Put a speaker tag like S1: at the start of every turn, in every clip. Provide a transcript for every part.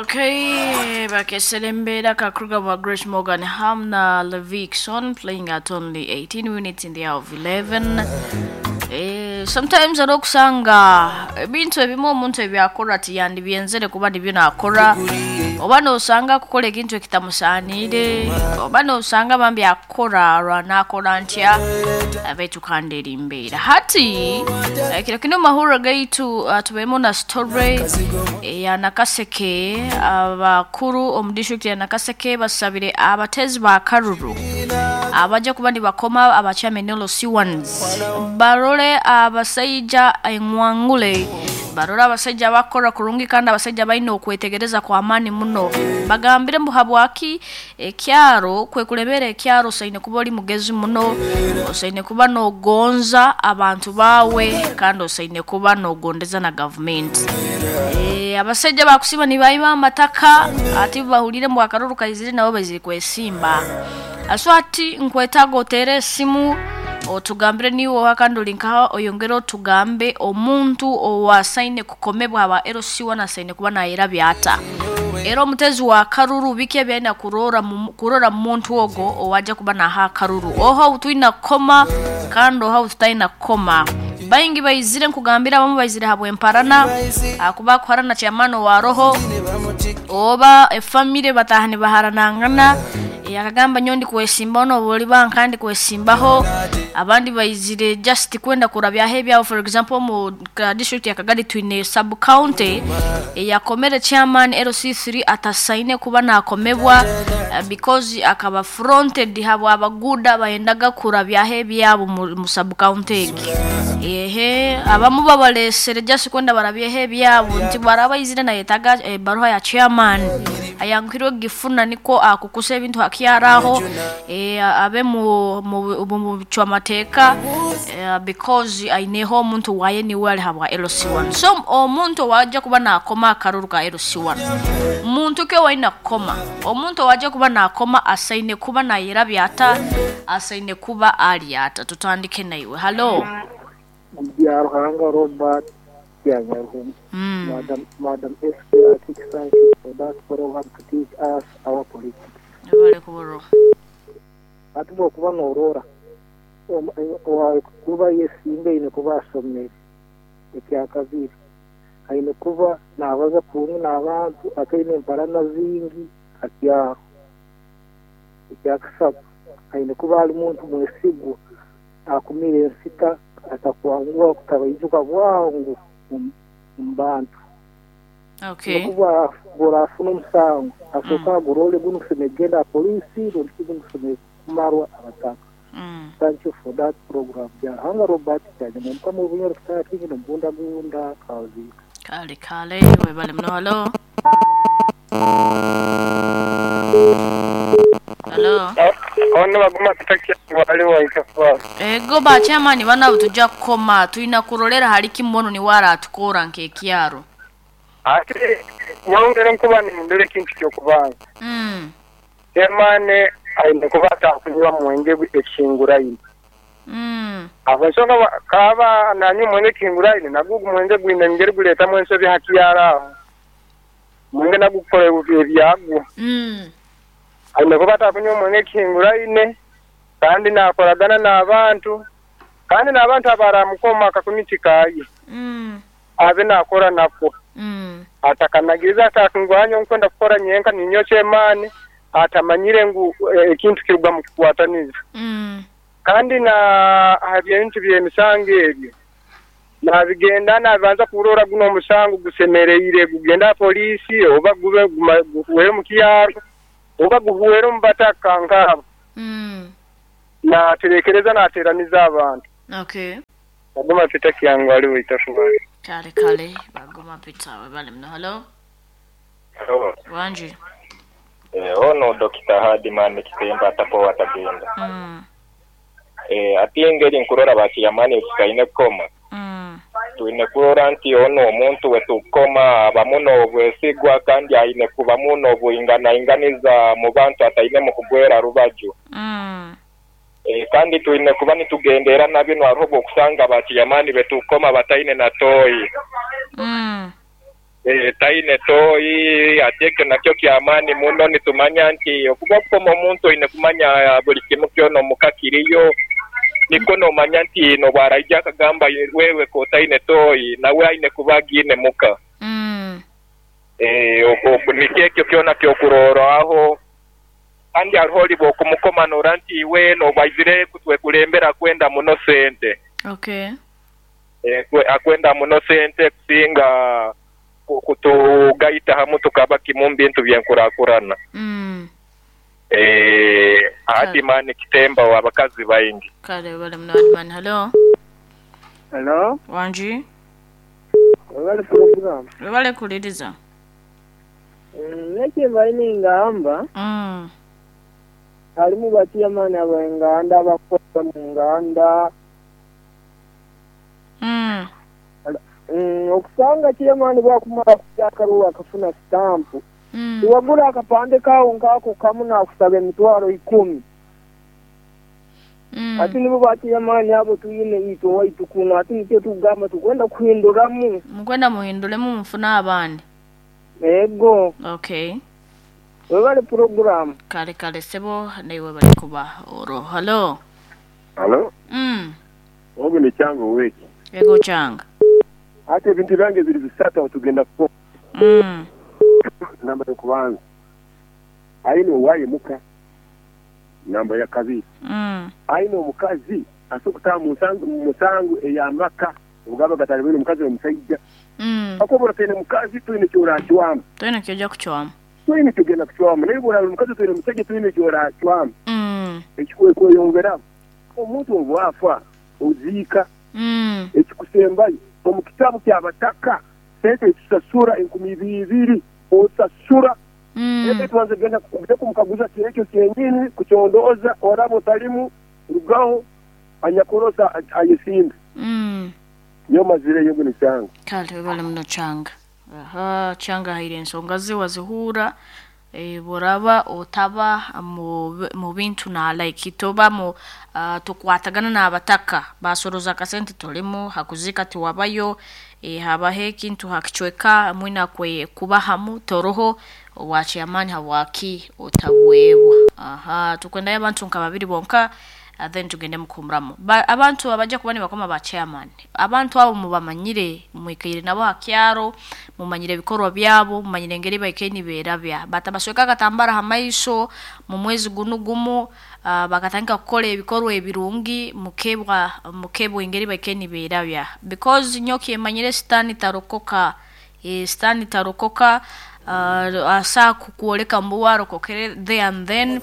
S1: Okay, Bakeselembe Kakruga wa Grace Morgan Hamna Levikson playing at only 18 minutes in the hour of 11. Sometimes ari okusanga ebintu ebimu omuntu ebyakora tiyandibyenzere kuba nibyo nakora, oba nosanga akukora ekintu ekitamusaaniire, oba nosanga bambi akukora lwanakora ntya abaitu kandi eri mbeera hati. Kiro kino mahuriro gaitu, tubeemu na story eya Nakaseke. Abakuru omu district ya Nakaseke basabire abatezi ba karuru abajja kuba nibakoma abakyame LC1s barole abasaija engwangule, barole abasaija bakora kurungi kandi abasaija balina okwetegereza kw'amaani muno. Bagambire mbu habwaki ekyaro kwekulebera ekyaro osaine kuba ori mugezi muno, osaine kuba n'ogonza abantu baawe kandi osaine kuba n'ogondeza na gavumenti. Abasaija bakusiba nibaiba amataka ati bahulire mbu akaruru kaizire nabo baizire kwesimba. So hati nkwetaaga oteere esimu otugambire niiwe oha kandi ori nkaha, oyongere otugambe omuntu owasaine kukomebwa aba LC1 asaine kuba nayerabya ata, era omutezi wa karuru biki ebi aine kurora kurora mu muntu ogwo owaija kuba naha akaruru, oha ou twine kukoma kandi oha ou tutaine kukoma. Baingi baizire nkugambire, abamu baizire habw'emparana ahakuba akuharana chairman owa roho oba efamire bataaha nibaharanangana, akagamba nyowe ndikwesimbaho n'obu oriba nka ndikwesimbaho. Abandi baizire just kwenda kurabyaho ebyabo. For example, omu ka district ya Kagadi twine sub county eyakomere chairman LC3 atasaine kuba nakomebwa, because akaba fronted habwa abaguuda bayendaga kurabyaho ebyabo mu sub county egi. Ehe, abamu babalesere just kwenda barabyeho ebyabo nti bwaraba aizire nayetaaga ebaruha ya chairman, ayanguhirwe kugifuna nikwo akukusa ebintu hakyaro aho, abe mu bicwamateeka, because aineho omuntu waye niwe ari habwa LC1. So omuntu owaija kuba nakoma akaruru ka LC1, muntu ki owaine kukoma? Omuntu owaija kuba nakoma asaine kuba nayerabya ata, asaine kuba ari ata? Tutandike naiwe. Hallo.
S2: Byaruhanga Robert Byanyaruhuma. Madam SP, I think thank you for that program to teach us our politics.
S1: Webale kuburwa.
S2: Hati bwokuba norora kuba yesimba aine kuba asomere, ekyakabiri aine kuba nabaza kurungi n'abantu, ataine emparana zingi hakyaro, ekyakasatu aine kuba ali muntu mwesigwa, akumira ensita, atakwanguha kutabaijuka bwangu omu bantu. Nokuba bworafuna omusango asooka agurole, gunu gusemeriire kugenda aha poliisi rundi ki gunu gusemeriire kumarwa abataka. Thank you for that program. Byaruhanga Robert Kyanyuma Omukama w'Obunyoro Kitara Kingi n'Omubundabunda Kaziika.
S1: Kale kale, webale muno. Hallo. Hallo.
S3: Ono baguma kutakya waliwo ikafa.
S1: Ego ba chairman bana tujja kukoma tulina kurolera hali kimono niwe aratukora nk'ekyaro.
S3: Ate nyongere nkuba nindole ekintu ky'okubanga. Chairman aine kuba atakunywa mwenge ekihinguraine. Abo ensonga kaba nanywa omwenge ekihinguraine nagwo ogu mwenge gwine engeri gureetamu ensobi hakyaro aho. Mwenge nagwo gukora ebyagwo. Aine kuba atakunywa omwenge ekihinguraine kandi nakoragana n'abantu kandi n'abantu abaramukoma akakumiti kaye. Abe nakora nako. Atakanagiriza atakungwanya nkwenda kukora nyenka ninyo chairman atamanyire ngu ekintu kiruga mu kukwataniza. Kandi na ebintu by'emisango ebyo nabigenda nabanza kurora guno omusango gusemereire gugenda poliisi oba gube guhuhere mu kyaro oba guhuhere omu bataka nkabo. Naterekereza nateraniza abantu. Baguma Peter Kiyango aliwo itafubayo.
S1: Kale kale, baguma Peter webale muno. Hallo.
S4: Hello.
S1: Wanji.
S4: Ono Dr. Hadiman Kitemba atapo watagenda. Ati engeri nkurora bakiyamani tukaine kukoma. Twine kurora nti ono omuntu wetukoma abamuno obwesigwa kandi aine kuba muno obwinganainganiza mu bantu ataine mu kugwera rubaju. Kandi twine kuba nitugendera na bino hariho obwokusanga bakiyamani betukoma bataine na toyi. Taine toyi, ati ekyo nakyo kya maani muno. Nitumanya nti okuba okukoma omuntu oine kumanya buli kimu kyona omuka kiriyo, nikwo nomanya nti nobwaraija akagamba wewe kotaine toyi, nawe aine kuba agiine muka. Nikyo ekyo kyona kyokurorwaho. Kandi hariho oli bwokumukoma nora nti iwe nobu aizire kutwekulembera akwenda muno sente. Akwenda muno sente kusinga kutugaita hamu tukaba kimu omu bintu by'enkurakurana. Adimani kitemba wa bakazi baingi.
S1: Kale webale muno Adimani. Halo.
S3: Halo.
S1: Wangi.
S3: Webale pulogulaamu.
S1: Webale kuwuliriza.
S3: Nekimbaire ningamba, halimu bachairman ab'enganda abakukora mu nganda. Okusanga chairman bwakumara kulya akaruru akafuna sitampu, tiwagura akapande kawo nk'ako kamu nakusaba emitwaro ikumi. Hati nibo ba chairman abo twine itwe owaitu kunu, hati nikyo tukugamba tukwenda kuhinduramu.
S1: Mukwenda muhinduremu mufune abandi.
S3: Ego.
S1: Okay.
S3: Webale pulogulaamu.
S1: Kale kale sebo naiwe webale kuba oro. Halo.
S5: Halo. Ogu ni Kyanga oweki.
S1: Ego Kyanga.
S5: Hati ebintu byange biri bisatu aho tugenda kukoma. Namba y'okubanza, aine owaye muka. Namba ya kabiri, aine omukazi asobora kutaaha mu musango ey'amaka obu gaba gatali baine omukazi n'omusaija. Kakuba oba otaine mukazi, toine eki oracwamu.
S1: Toine eki oija kucwamu.
S5: Toine eki ogenda kucwamu. Naye obu oraaba ori mukazi otaine musaija, toine eki oracwamu. Ekikweyongeraho, omuntu obu afa, oziika. Ekikusembayo, omu kitabu ky'abataka, sente ezitusasura enkumi ibiri, osasura. Ente tubanze kugenda kumukaguza kyekyo kyenyini, kucondooza, oraba otalimu, rugaho, anyakurosa ayesimbe. Nyowe mazireyo ogu ni Kyanga.
S1: Kale webale muno Kyanga. Aha, Kyanga ahaire ensonga ze wazihuura. Bworaba otaba mu bintu na like toba mu tokwatagana n'abataka, basoroza akasente tolimu, hakuziika tiwabayo, habaho ekintu ha kicweka mwine kuba hamu toroho, obwa chairman habwaki otabwebwa. Aha, tukwendayo abantu nka babiri bonka then tugende mukuhumuramu. Abantu abaja kuba nibakoma ba chairman, abantu abo mubamanyire, mwikaire nabo ha kyaro, mumanyire ebikorwa byabo, mumanyire engeri baikaire niberabya. Batabasweka akatambara ha maiso mu mwezi gunu gumu, bakatandika kukora ebikorwa ebirungi, mukebwa mukebwa engeri baikaire niberabya. Because nyowe kyemanyire sitaani tarokoka, sitaani tarokoka, asobola kukwoleka mbu uwe arokokere there and then,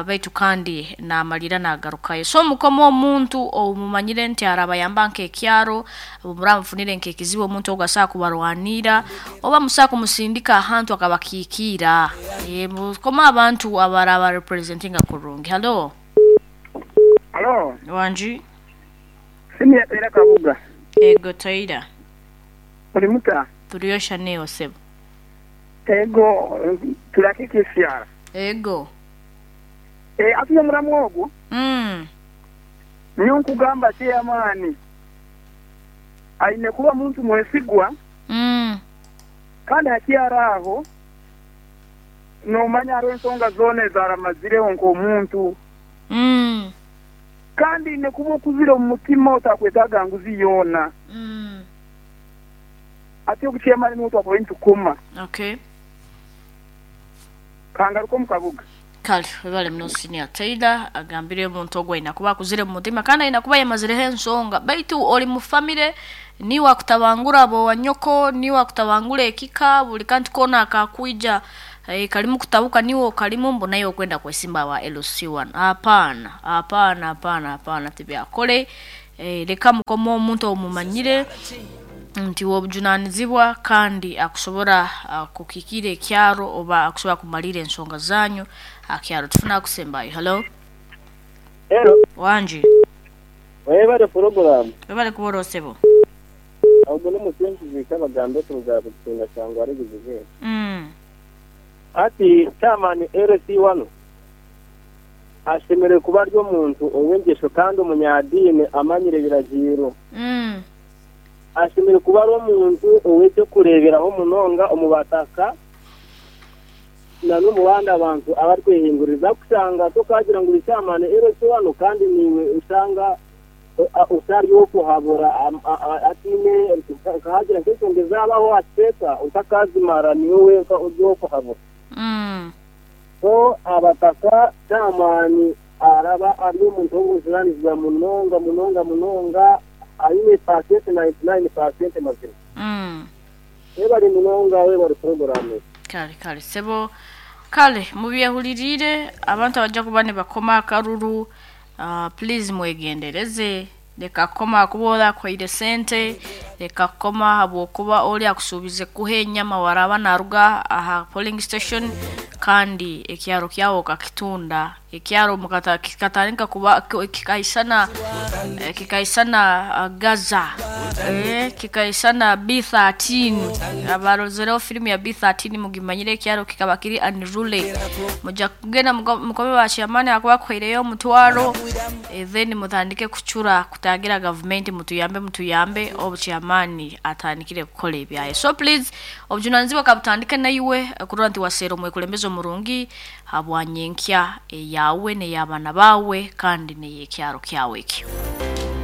S1: baitu kandi namalira nagarukayo. So mukome omuntu ou mumanyire nti arabayamba nk'ekyaro, obu muraba mufunire nk'ekizibu omuntu ogu asobola kubarwanirra, oba musobola kumusindika ahantu akabakiikiira. Mukome abantu abaraba representinga kurungi. Halo.
S3: Halo.
S1: Wangi.
S3: Senior Taira Kabuga.
S1: Ego Taira.
S3: Oli muta?
S1: Turiyo sha naiwe sebo.
S3: Ego, turi ak'ekyaro.
S1: Ego.
S3: Ati omuramwa ogwo. Nyowe nkugamba chairman aine kuba muntu mwesigwa. Kandi ha kyaro aho nomanya hariho ensonga zoona ezi aramazireho nk'omuntu. Kandi aine kuba okuzire omu mutima otakwetaaga nguzi yoona. Ati ogu chairman nuwe twakubaire nitukoma.
S1: Okay.
S3: Kangaruke omu kabuga.
S1: Kale webale muno Senior Taylor agambire omuntu ogu aine kuba akuzire omu mutima kandi aine kuba yamazireho ensonga. Baitu ori mu famire niiwe akutabangura ab'owanyoko, niiwe akutabangura ekika, buli kantu koona akakwija karimu kutabuka niiwe okarimu mbu naiwe okwenda kwesimba aha LC1. Hapana, hapana, hapana, hapana tibyakore. Leka mukome omuntu ou mumanyire nti w'obujunanizibwa kandi akusobora kukikiira ekyaro oba akusobora kumaliira ensonga zanyu aha kyaro. Tufune akusembayo. Halo.
S6: Hello.
S1: Wangi.
S6: Webale pulogulaamu.
S1: Webale kuba oroho sebo.
S6: Ogu n'omusinguzi Kabagambe kuruga Bukitinga Kyangwali Buzibe. Hati chairman LC1 ashemereire kuba ari omuntu ow'engyesho kandi omunyadiini amanyire ebiragiiro. Ashemereire kuba ari omuntu ow'eky'okureeberaho munonga omu bataka n'omu bandi abantu abarikwehinguririza. Kushanga tokagira ngu ori chairman LC wano kandi niiwe oshanga otari ow'okuhabura hataine nkahagira nk'enshonga ezaabaho aha kicweka otakazimara niiwe wenka ori ow'okuhabura. So abataka chairman araba ari omuntu w'obujunaanizibwa munonga munonga munonga aine paasenti 99% mazima. Webare munonga webare puroguraamu.
S1: Kale kale sebo, kale mubyehuririire abantu abajja kuba nibakoma akaruru, please mwegendereze. Leka kukoma ahakuba ori akuhaire sente, leka kukoma ahabw'okuba ori akusuubize kukuha enyama waraaba naaruga aha polling station kandi ekyaro kyawe okakitunda. Ekyaro mukata kikatandika kuba kikaisana kikaisana Gaza, kikaisana B13. Abarozereho firimu ya B13 mugimanyire ekyaro kikaba kiri unruly. Mujja kugenda mukome ba chairman ahakuba akuhaireyo omutwaro, then mutandike kucura kutagira gavumenti mutuyambe mutuyambe obu chairman atandikire kukora ebyaye. So please obujunanizibwa kabutandike naiwe kurora nti waseera omwekulembeze omurungi habwa nyenkya eyawe n'ey'abaana baawe kandi n'ey'ekyaro kyawe ekyo.